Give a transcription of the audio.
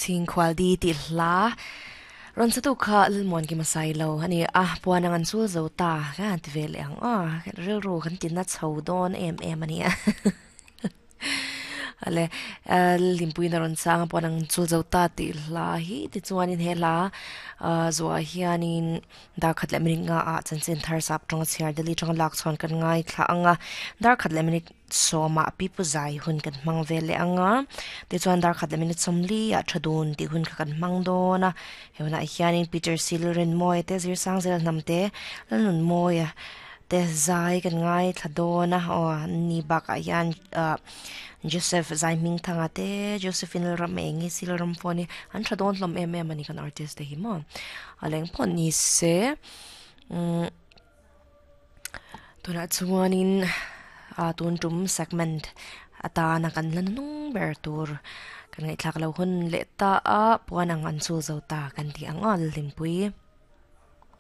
Chhingkhual di tih hla rawn sa tu kha Lalmuan Kim a sai lo a ni a, puan ang an chul zo ta ka han ti ve leh ang aw, rilru kan ti na chho dawn em em a nia. Ale Limpuiin a rawn chang a puan ang chul zo ta tih hla hi tichuanin he hla zuah hianin Dar khat leh minute nga ah chanchin thar sap tawng a chhiar Delhi tanga lak chhuan kan ngaithla ang a, dar khat leh minute sawmah pipu zai hun kan hmang vel leh ang a, tichuan dar khat leh minute sawmli ah tha dun tih hun kha kan hmang dawn a, he hunah hianin Peter Sil Rinmawia te Zirsang Zel hnam te Lalnunmawia te zai kan ngaithla dawn a, aw ni bakah hian ah Joseph Zaihmingthanga te Josephine Lalramengi Silramfawni an tha dawn hlawm em em a ni kan artist te hi maw. A leng phawt ni se umm tunah chuanin ah tun tum segment atana kan la nung ber tur kan ngaihthlak loh hun leh ta a puan ang an chul zo ta kan tih ang aw Lalhlimpui.